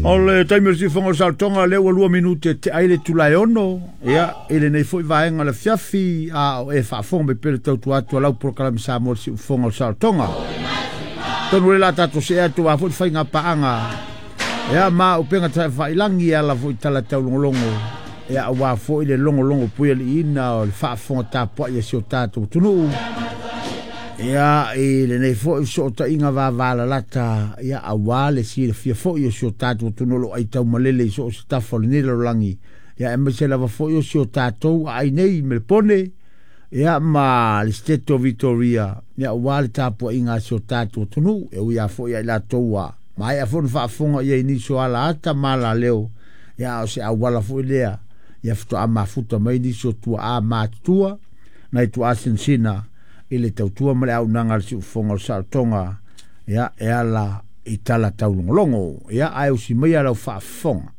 O le taimi o le siufofoga o le saolotoga, lea ua 2 minute e tea ai le itula e 6, ia, i lenei foi vaega o le afiafi, a o e faafofoga mai pea le tautua atu a lau polokalame Samoa le siufofoga o le saolotoga. Tonu le la tatou see atu a foi le faiga paaga, ia, ma upega tafailagi e ala foi tala taulogologo, ia, aua foi le logologo puialiiina o le faafofoga tapuai a si o tatou atunuu. Ia, i lenei foi fesootaiga vavalalata, ia, aua le silafia foi o si o tatou atunuu o lo o aitaumalele i so o se tafa o lenei lalolagi, ia, aemaise lava foi o si o tatou aai nei i Melepone, ia, ma le State o Victoria, ia, aua le tapuaiga a si o tatou atunuu, e ui lava foi ia i latou ua maea foi ona faafofoga i ai i nisi o alaata ma alaleo, ia, a o se auala foi lea, ia faatoa mafuta mai nisi o tuaa matutua, nai tuaa sinasina i le tautua ma le auaunaga a le siufofoga o le saolotoga, ia, e ala i tala taulogologo. Ia, ae usi maia lau faafofoga.